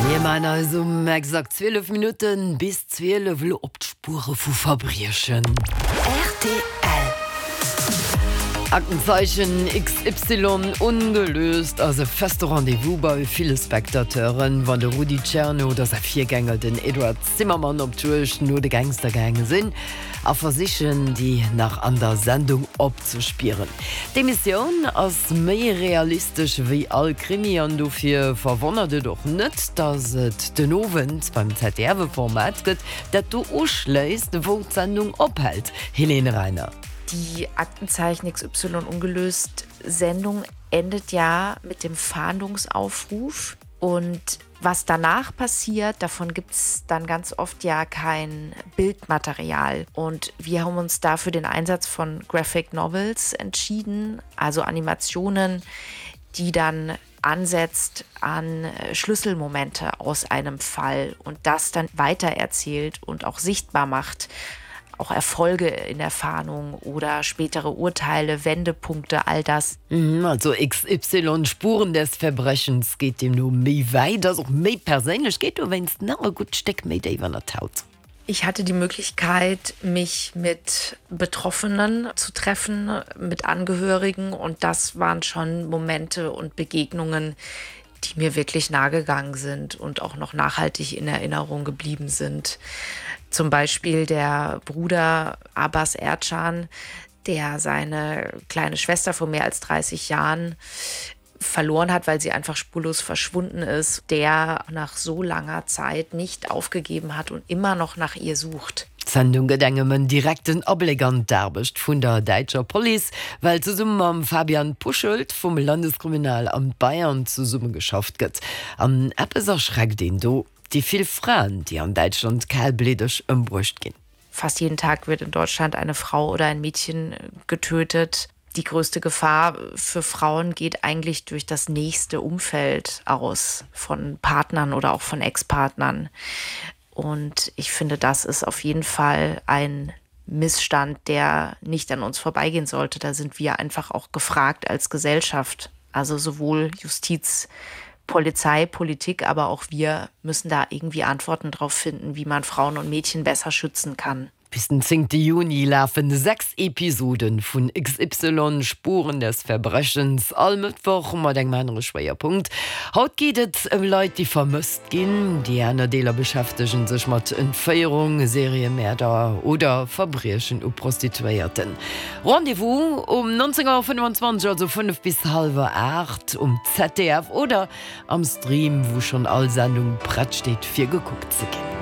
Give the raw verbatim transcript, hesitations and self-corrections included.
Mir maachen eis um exakt zwielef Minutten bis zwielef elo op d'Spuere vu Verbriechen. Rtl. Aktenzeichen XY ungelöst ass e feste Rendez-vous bei ville Spectateuren, wann de Rudi Tscherne oder säi Virgänger den Eduard Zimmermann op d'Juegd no de Gangster gaange sinn a versichen, déi nach an der Sendung opzespieren. D'Emissioun ass méi realistesch wéi all Krimi an dofir verwonnert et och net, datt et den Owend beim Z D F e Format gëtt, dat do uschléisst, wou d'Sendung ophält. Helene Reiner. Die Aktenzeichen X Y ungelöst Sendung endet ja mit dem Fahndungsaufruf und was danach passiert, davon gibt es dann ganz oft ja kein Bildmaterial. Und wir haben uns dafür den Einsatz von Graphic Novels entschieden, also Animationen, die dann ansetzt an Schlüsselmomente aus einem Fall und das dann weitererzählt und auch sichtbar macht, auch Erfolge in der Fahndung oder spätere Urteile, Wendepunkte, all das. Mhm, also X Y Spuren des Verbrechens geet deemno méi wäit, ass och méi perséinlech, geet dowéinst nach e gutt Stéck méi déif ënner d'Haut. Ich hatte die Möglichkeit, mich mit Betroffenen zu treffen, mit Angehörigen und das waren schon Momente und Begegnungen, die mir wirklich nahe gegangen sind und auch noch nachhaltig in Erinnerung geblieben sind. Zum Beispiel der Bruder Abbas Ercan, der seine kleine Schwester vor mehr als dreißig Jahren verloren hat, weil sie einfach spurlos verschwunden ist, der nach so langer Zeit nicht aufgegeben hat und immer noch nach ihr sucht. D'Sendung gëtt engem en direkten Abléck an d'Aarbecht vun der däitscher Police, well zesumme mam Fabian Puschelt vum Landeskriminalamt Bayern zesummegeschafft gëtt. An eppes erschreckt een do, déi vill Fraen, déi an Däitschland kalbliddeg ëmbruecht ginn. Fast jeden Tag wird in Deutschland eine Frau oder ein Mädchen getötet. Die größte Gefahr für Frauen geht eigentlich durch das nächste Umfeld aus, von Partnern oder auch von Ex-Partnern. Und ich finde, das ist auf jeden Fall ein Missstand, der nicht an uns vorbeigehen sollte. Da sind wir einfach auch gefragt als Gesellschaft. Also sowohl Justiz, Polizei, Politik, aber auch wir müssen da irgendwie Antworten drauf finden, wie man Frauen und Mädchen besser schützen kann. Bis den zéngte Juni lafen sechs Episoden vun X Y Spuren des Verbrechens all Mëttwoch mat engem anere Schwéierpunkt. Haut geet et ëm Leit, déi vermësst ginn. Déi aner Deeler beschäftege sech mat Entféierung, Seriemäerder oder Verbriechen u Prostituéierten. Rendez-vous um neunzéng Auer fënnwanzwanzeg, also fënnef bis hallwer aacht um Z D F oder am Stream, wou schonn all Sendung prett steet fir gekuckt ze ginn.